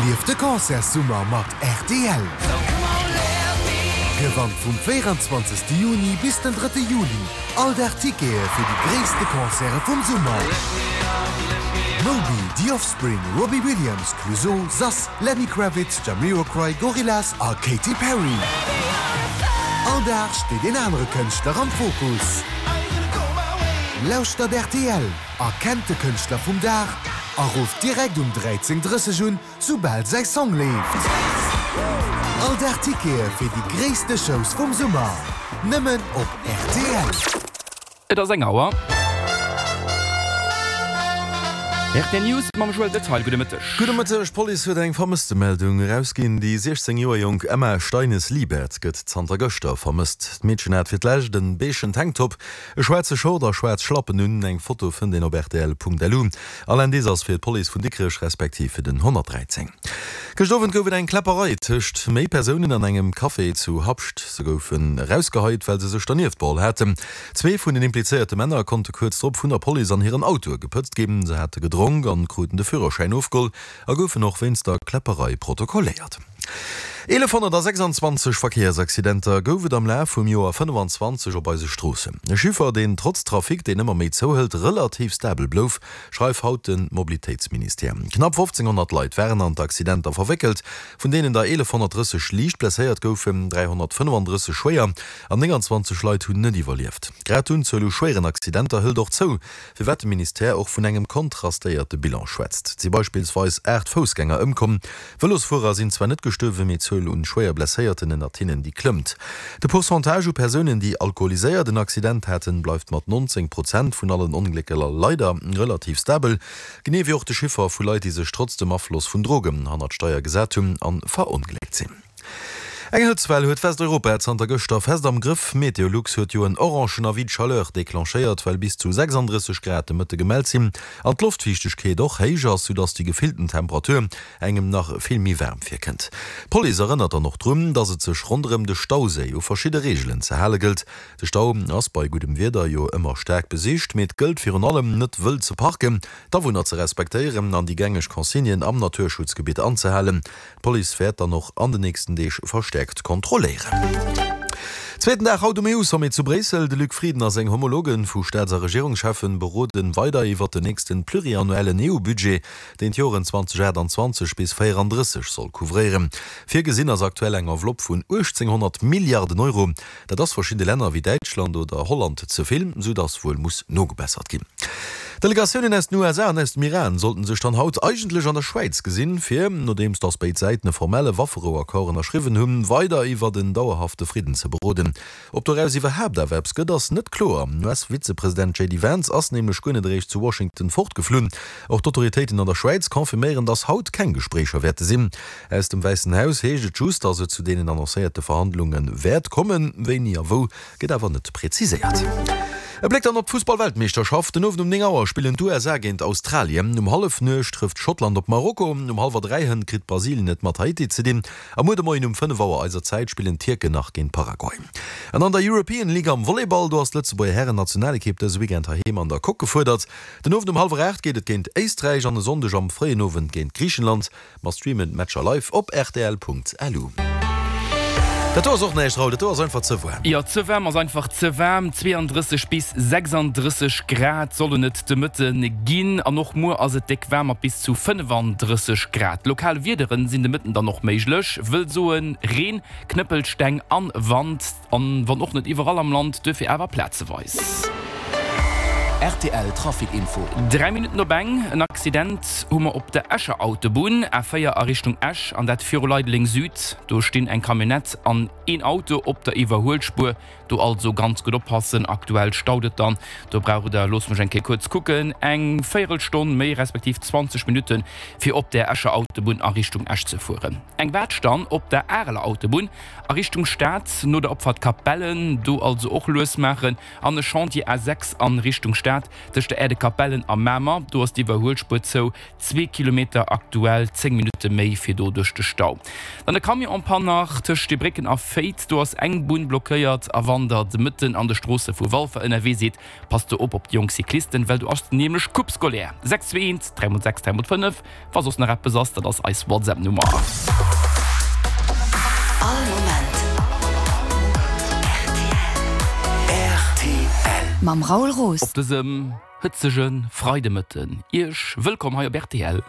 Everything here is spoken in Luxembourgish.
Erlieft de Concertssummer mat rtl! Gewannt vum 24. Juni bis den 3. Juli all Dag Tickete fir déi gréisste Concerte vum Summer! Moby, The Offspring, Robbie Williams, Clouseau, Sass, Lenny Kravitz, Jamiroquai, Gorillaz a Katy Perry. All Dag steet een anere Kënschtler am Fokus. Lauschtert rtl, erkennt de Kënschtler vum Dag a rufft direkt um 13:30 un, soubal säi Song leeft. All Dag Tickete fir déi gréisste Shows vum Summer, nëmmen op rtl. Et ass eng Auer. Rtl News mam Joël Detail. Gudde Mëtteg. Gudde Mëtteg. D'Police huet eng Vermësstemeldung erausginn. Déi 16 Joer jonk Emma Steines-Liebert gëtt zanter gëschter vermësst. D'Meedchen hat fir d'lescht en beegen Tanktop, e schwaarze Short a schwaarz Schlappen un. Eng Foto fënnt een op rtl.lu. All Indice ass fir d'Police vun Dikrech respektiv fir den 113. Gëscht Owend gouf et eng Kläpperei tëscht méi Persounen an engem Café zu Habscht. Se goufen erausgeheit, well se sech dernieft beholl haten. Zwee vun den implizéierte Männer konnte kuerz drop vun der Police an hiren Autoe gepëtzt ginn. Se hate gedronk an kruten de Führerschäin ofgeholl a goufen och wéinst der Kläpperei protokolléiert. 1126 Verkéiersaccidenter gouf et am Laf vum Joer 25 op eise Stroossen. E Chiffer, deen trotz Trafic, deen ëmmer méi zouhëlt, relativ stabel blouf, schreift haut de Mobilitéitsministère. Knapp 1.500 Leit waren an d'Accidenter verwéckelt, vun deenen der 1.130 liicht blesséiert goufen, 335 schwéier An 29 Leit hunn net iwwerlieft. Grad d'Unzuel u schwéieren Accidenter hëlt och zou, firwat de Ministère och vun engem kontrastéierte Bilan schwätzt. Et si beispillsweis 8 Foussgänger ëmkomm. Vëlosfuerer sinn zwar net gestuerwen, mee d'Zuel un schwéier Blesséierten ënnert hinnen, déi klëmmt. De Pourcentage u Persounen, déi alkoholiséiert en Accident haten, bleift mat 19 Prozent vun allen Onglécker leider relativ stabel, genee wéi och de Chiffer vu Leit, déi sech trotz dem Afloss vun Drogen hannert d'Steier gesat hunn a verongléckt sinn. Eng Hëtztwell huet Westeuropa zanter gëschter fest am Grëff. Meteolux huet jo en orangen Avis de chaleur declenchéiert, well bis zu 36 Grad de Mëtte gemellt sinn an d'Loftfiichtegkeet och héich ass, soudass déi gefillten Temperatur engem nach vill méi waarm virkënnt. D'Police erënnert dann och drun, dass et sech ronderëm de Stauséi u verschidde Reegelen ze hale gëllt. De Stau ass bei guddem Wieder jo ëmmer staark besicht, mee et gëllt virun allem net wëll ze parken, d'Awunner ze respektéieren an déi gängeg Consignen am Naturschutzgebitt anzehalen. D'Police wäert dann och an den nächsten Deeg verstäerkt kontrolléieren. Zweeten Dag haut um EU-Sommet zu Bréissel. De Luc Frieden a seng Homologe vu Staats a Regierungscheffen beroden weider iwwert den nächsten pluriannuellen EU-Budget, deen d'Joren 2028 bis 34 soll couvréieren. Virgesinn ass aktuell eng Enveloppe vun 1.800 Milliarden Euro. Dat ass verschidde Länner wéi Däitschland oder Holland ze vill, sou datt wuel muss nogebessert ginn. Delegatiounen aus den USA an aus dem Iran sollten sech dann haut eigentlech an der Schwäiz gesinn, fir, nodeems datt béid Säiten e formelle Wafferouaccord ënnerschriwwen hunn, weider iwwert en dauerhafte Fridden ze beroden. Ob doraus iwwerhaapt awer eppes gëtt, ass net kloer. US-Vizepresident JD Vance ass nämlech guer net eréischt zu Washington fortgeflunn. Och d'Autoritéiten an der Schwäiz confirméieren, datt haut keng Gespréicher wäerte sinn. Aus dem Wäissen Haus heescht et just, datt et zu deenen annoncéierte Verhandlunge wäert kommen. Wéini a wou, gëtt awer net preziséiert. E Bléck dann op d'Fussball-Weltmeeschterschaft, Den Owend um 9 Auer spillen d'USA géint Australien, um Hallefnuecht trëfft Schottland op Marokko, um hallwer 3 hënt kritt Brasilien et mat Haiti ze dinn a muer de Moien um 5 Auer eiser Zäit spillen d'Tierken nach géint Paraguay. An an der European League am Volleyball, do ass d'Lëtzebuerger Hären-Nationalekipp dëse Weekend heiheem an der Coque gefuerdert. Den Owend um hallwer 8 geet et géint Éisträich an e Sonndeg am fréien Owend géint Griichenland. Mer streamen d'Matcher live op rtl.lu. Dat do ass och näischt, Raoul, dat do ass einfach ze waarm. Jo, ze waarm ass einfach ze waarm. 32 bis 36 Grad sollen et de Mëtte ginn an och muer ass et déck waarm mat bis zu 35 Grad. Lokal Wiederen sinn de Mëtten dann och méiglech, wëll soen Reen, Knëppelsteng an Wand. An wann och net iwwerall am Land, duerfir awer plazeweis. Rtl Trafic Info. 3 Minutten op eng, En Accident hu mer op der Escher Autobunn, A4 a Richtung Esch, an dat viru Leideleng Süd. Do stinn eng Camionnette an een Auto op der Iwwerhuelspuer. Do also ganz gutt oppassen, aktuell staut et dann. Do braucht der, loosst mech eng Kéier kuerz kucken, eng Véierelstonn méi respektiv 20 Minutten, fir op der Escher Autobunn a Richtung Esch ze fueren. Eng Waatsch dann op der Areler Autobunn A Richtung Stad, no der Opfahrt Capellen, do also och lues maachen. An e Chantier A 6 an Richtung Stad. Stad tëscht der Aire de Capellen a Mamer. Do ass d'Iwwerhuelspuer zou, zwee Kilometer, aktuell 10 Minutte méi fir do duerch de Stau. Dann e Camion en panne nach tëscht Steebrécken a Féiz, do ass eng Bunn blockéiert. A wann der de Mëtten an de Stroosse vu Walfer ënnerwee sidd, passt do op op déi jonk Cyclisten, well do ass nämlech Coupe scolaire. 6 2 1 3 mol 6 3 mol 5. Wa soss nach eppes ass, dat ass eis WhatsApp Nummer. All Moment rtl. Mam Raoul Roos. Op dësem hëtzege Freidemëtten Iech wëllkomm hei op rtl.